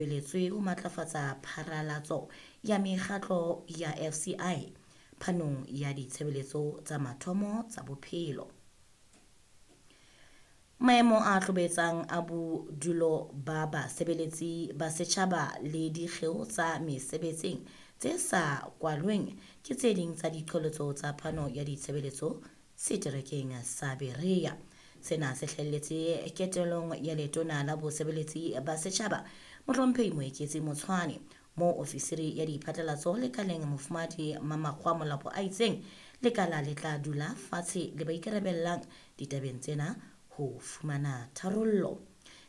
Tsweletswe ho matlafatsa pharalatso ya mekgatlo ya FCI phanong ya ditshebeletso tsa mathomo tsa bophelo. Maemo a hlobetsang a bodulo ba basebeletsi ba setjhaba le dikgeo tsa mesebetsing tse sa kwalweng ke tse ding tsa diqholotso tsa phano ya ditshebeletso seterekeng sa Berea. Sena se hlahelletse ketelong ya letona la bosebeletsi ba setjhaba Mohlomphehi Moeketsi Motshwane, moo ofisiri ya diphatlalatso lekaleng Mofumahadi Mamakgoa Molapo a itseng lekala le tla dula fatshe le ba ikarabellang ditabeng tsena ho fumana tharollo.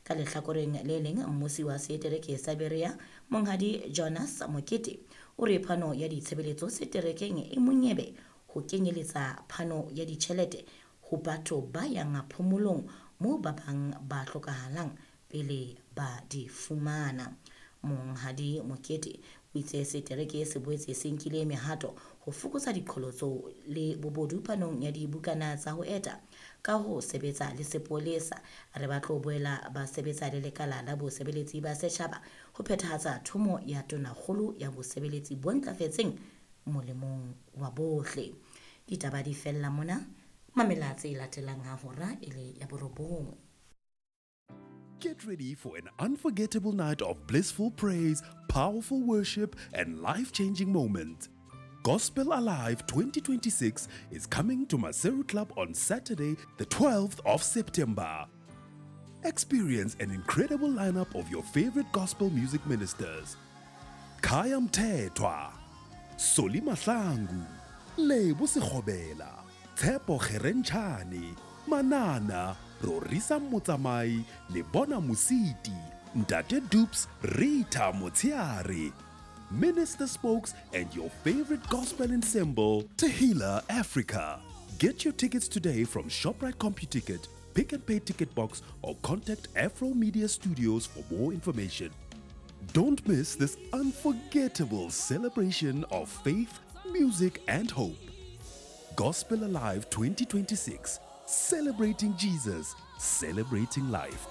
Ka lehlakoreng le leng, mmusi wa setereke sa Berea Monghadi Jonas Mokete o re phano ya ditshebeletso seterekeng e monyebe ho kenyeletsa phano ya ditjhelete ho batho ba yang phomolong moo ba bang ba hlokahalang pele ba di fumana. Monghadi Mokete o itse setereke se boetse se nkile mehato ho fokotsa diqholotso le bobodu phanong ya dibukana tsa ho eta ka ho sebetsa le sepolesa. Re ba tlo boela ba sebetsa le lekala la bosebeletsi ba setjhaba ho phethahatsa thomo ya tonakgolo ya bosebeletsi bo ntlafetseng molemong wa bohle. Ditaba di fella mona. Mamela tse latelang ha hora e le ya borobong. Get ready for an unforgettable night of blissful praise, powerful worship, and life-changing moments. Gospel Alive 2026 is coming to Maseru Club on Saturday, the 12th of September. Experience an incredible lineup of your favorite gospel music ministers. Khaya Mthethwa, Solly Mahlangu, Lebo Sekgobela, Tshepo Kgerentshane, Manana, Rorisa Motsamai, Lebona Mositi, Ntate Dupes, Rita Motsiare, Minister Spokes, and your favorite gospel ensemble, Tehila Africa. Get your tickets today from ShopRite CompuTicket, Pick and Pay Ticket Box, or contact Afro Media Studios for more information. Don't miss this unforgettable celebration of faith, music, and hope. Gospel Alive 2026, celebrating Jesus, celebrating life.